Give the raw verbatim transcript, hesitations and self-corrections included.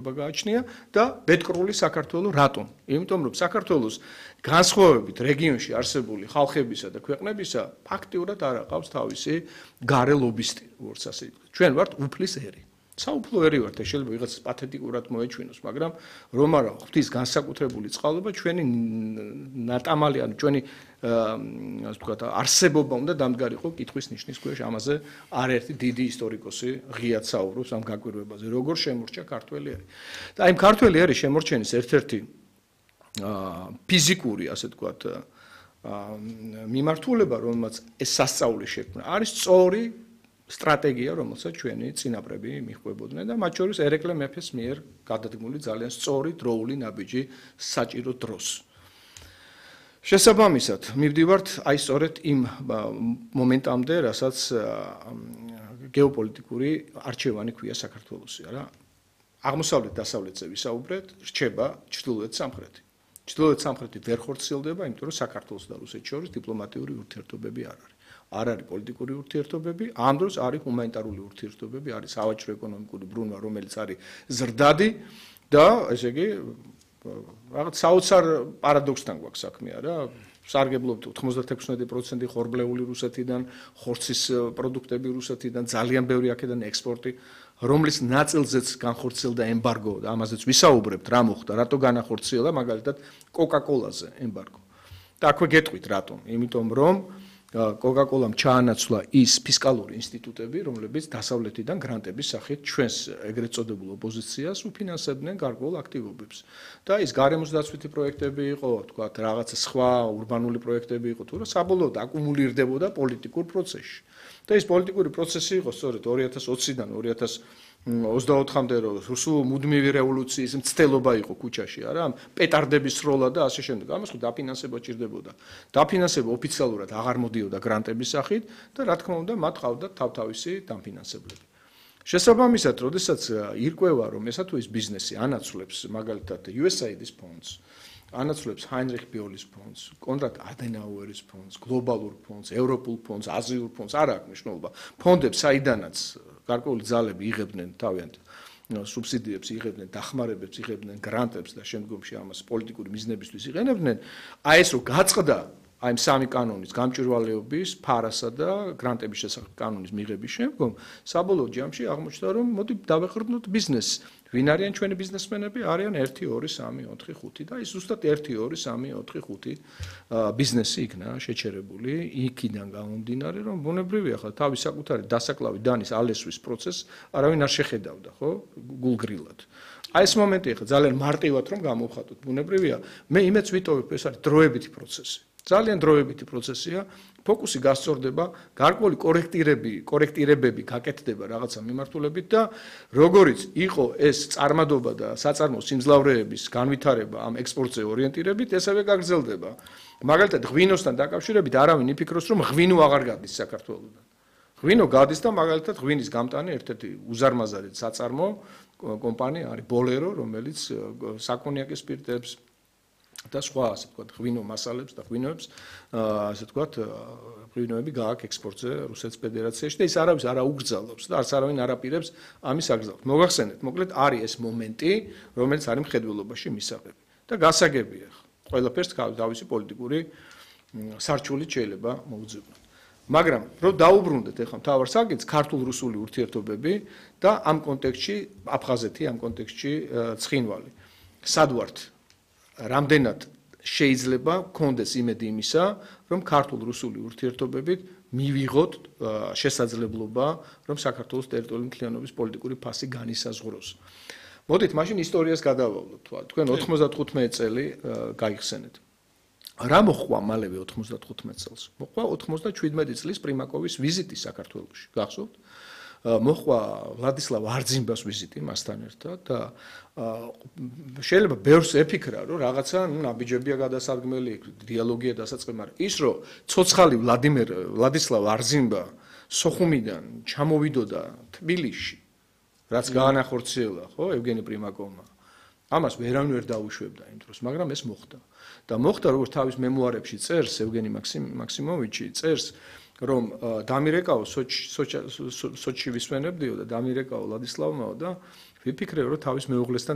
გააჩნია და ბედკრული საქართველოს რატომ? იმიტომ რომ საქართველოს განსხვავებით რეგიონში არსებული ხალხებისა და ქვეყნებისა ფაქტიურად არ აყავს თავისი გარე ლობისტი, როგორც ასე ვთქვათ. ჩვენ ვართ უფლის ერი. საუფლო ერი ვართ, შეიძლება ვიღაც პათეტიკურად მოეჩვენოს, მაგრამ რომ არა ღვთის განსაკუთრებული წყალობა ჩვენი ნატამალი, ანუ ჩვენი ასე ვთქვათ, არსებობა უნდა დამდგარიყო კითხვის ნიშნის ქვეშ. ამაზე არაერთი დიდი ისტორიკოსი ღიად საუბრობს ამ გაკვირვებაზე, როგორ შემორჩა ქართველი ერი. და აი ქართველი ერის შემორჩენის ერთ-ერთი ფიზიკური, ასე ვთქვათ, მიმართულება, რომელმაც ეს სასწაული შექმნა, არის სწორი სტრატეგია, რომელსაც ჩვენი წინაპრები მიჰყვებოდნენ და მათ შორის ერეკლე მეფეს მიერ გადადგმული ძალიან სწორი დროული ნაბიჯი საჭირო დროს. შესაბამისად, მივდივართ აი სწორედ იმ მომენტამდე, რასაც გეოპოლიტიკური არჩევანი ქვია საქართველოსი, არა? აღმოსავლეთ-დასავლეთზე ვისაუბრეთ, რჩება ჩრდილოეთ-სამხრეთი. ჩრდილოეთ-სამხრეთი ვერ ხორციელდება, იმიტომ რომ საქართველოს და რუსეთს შორის დიპლომატიური ურთიერთობები არ არის. არ არის პოლიტიკური ურთიერთობები, ამ დროს არის ჰუმანიტარული ურთიერთობები, არის სავაჭრო-ეკონომიკური ბრუნვა, რომელიც არის ზრდადი და ესე იგი რაღაც საოცარ პარადოქსთან გვაქვს საქმე, არა? სარგებლობთ ოთხმოცდაექვსი პროცენტი ხორბლეული რუსეთიდან, ხორცის პროდუქტები რუსეთიდან, ძალიან ბევრი აქედან ექსპორტი, რომლის ნაწილზეც განხორციელდა ემბარგო და ამაზეც ვისაუბრებთ, რა მოხდა, რატო განახორციელა, მაგალითად, კოკა-კოლაზე ემბარგო. და აქვე გეტყვით რატომ? იმიტომ რომ კოკა-კოლამ ჩაანაცვლა ის ფისკალური ინსტიტუტები, რომლებიც დასავლეთიდან გრანტების სახით ჩვენს ეგრეთ წოდებულ ოპოზიციას უფინანსებდნენ გარკვეულ აქტივობებს. და ის გარემოსდაცვითი პროექტები იყო, თქვათ, რაღაცა სხვა ურბანული პროექტები იყო, თუ რა საბოლოოდ აკუმულირდებოდა პოლიტიკურ პროცესში. და ეს პოლიტიკური პროცესი იყო სწორედ ორი ათას ოციდან ორი ათას ოცდაოთხამდე რუსულ მუდმივი რევოლუციის მცდელობა იყო ქუჩაში, არა? პეტარდების სროლა და ასე შემდეგ. ამას ხო დაფინანსება ჭირდებოდა. დაფინანსება ოფიციალურად აღარ მოდიოდა გრანტების სახით და რა თქმა უნდა, მათ ყავდათ თავთავისი დამფინანსებლები. შესაბამისად, როდესაც ირკვევა, რომ ესა თუ ის ბიზნესი ანაცვლებს მაგალითად იუ ეს აი დის ფონდს, ანაცვლებს ჰაინრიხ ბიოლის ფონდს, კონრად ადენაუერის ფონდს, გლობალურ ფონდს, ევროპულ ფონდს, აზიურ ფონდს, არ აქვს მნიშვნელობა. ფონდებს საიდანაც გარკვეული ძალები იღებდნენ თავიანთ სუბსიდიებს იღებდნენ, დახმარებებს იღებდნენ, გრანტებს და შემდგომში ამას პოლიტიკური მიზნებისთვის იყენებდნენ. აი ეს რო გაწყდა აი სამი კანონის გამჭვირვალეობის, ფარასა და გრანტების შესახებ კანონის მიღების შემდგომ, საბოლოო ჯამში აღმოჩნდა, რომ მოდი დავეყრდნოთ ბიზნესს. ვინ არიან ჩვენი ბიზნესმენები? არიან ერთი, ორი, სამი, ოთხი, ხუთი და ის ზუსტად ერთი, ორი, სამი, ოთხი, ხუთი ბიზნესი იქნა შეჩერებული იქიდან გამომდინარე, რომ ბუნებრივია ხა თავის საკუთარი დასაკლავი დანის ალესვის პროცესს არავინ არ შეხედავდა, ხო? გულგრილად. აი ეს მომენტი ხა ძალიან მარტივად რომ გამოვხატოთ, ბუნებრივია. მე იმეც ვიტოვებ, ეს არის დროებითი პროცესი. ძალიან დროებითი პროცესია, ფოკუსი გასწორდება, გარკვეული კორექტირები, კორექტირებები გაკეთდება რაღაცა მიმართულებით და როგორიც იყო ეს წარმადობა და საწარმო სიმძლავრეების განვითარება ამ ექსპორტზე ორიენტირებით, ესევე გაგრძელდება. მაგალითად, ღვინოსთან დაკავშირებით არავინ იფიქროს, რომ ღვინო აღარ გადის საქართველოსთან. ღვინო გადის და მაგალითად ღვინის გამტანი ერთ-ერთი უზარმაზარი საწარმო კომპანია არის ბოლერო, რომელიც საკონიაკის სპირტებს და სხვა ასე ვთქვათ ღვინო მასალებს და ღვინოებს ასე ვთქვათ ღვინოები გააქვს ექსპორტზე რუსეთის ფედერაციაში და ის არავის არ აუგრძალავს და არც არავინ არ აპირებს ამის აგზავნას. მოგახსენეთ, მოკლედ არის ეს მომენტი, რომელიც არის მხედველობაში მისაღები და გასაგებია. ყველაფერს თავისი პოლიტიკური სარჩულით შეიძლება მოუძებნოთ. მაგრამ რომ დაუბრუნდეთ ახლა მთავარ საკითხს, ქართულ-რუსული ურთიერთობები და ამ კონტექსტში აფხაზეთი, ამ კონტექსტში ცხინვალი. სად ვართ? რამდენად შეიძლება გქონდეს იმედი იმისა, რომ ქართულ-რუსული ურთიერთობებით მივიღოთ შესაძლებლობა, რომ საქართველოს ტერიტორიული მთლიანობის პოლიტიკური ფასი განისაზღვროს. მოდით, მაშინ ისტორიას გადავავლოთ. თქვენ ოთხმოცდათხუთმეტი წელი გაიხსენეთ. რა მოხდა მალევე ოთხმოცდათხუთმეტ წელს? მოხდა ოცდაშვიდმეტი წლის პრიმაკოვის ვიზიტი საქართველოში. გახსოვთ? მოხდა ვლადისლავ არძიმბას ვიზიტი მასთან ერთად და შეიძლება ბევრს ეფიქრა, რომ რაღაცა ნაბიჯებია გადასარგმელი, დიალოგია დასაწყები, მაგრამ ის რომ ცოცხალი ვლადიმერ ვლადისლავ არძიმბა სოხუმიდან ჩამოვიდოდა თბილისში, რაც გაანახორციელა, ხო, ევგენი პრიმაკოვმა. ამას ვერავინ ვერ დაუშვებდა იმ დროს, მაგრამ ეს მოხდა. და მოხდა, როგორც თავის მემუარებში წერს ევგენი მაქსიმოვიჩი, წერს რომ დამირეკაო სოჩში ვისვენებდიო და დამირეკაო ლადისლავმაო და ვიფიქრე რომ თავის მეუღლესთან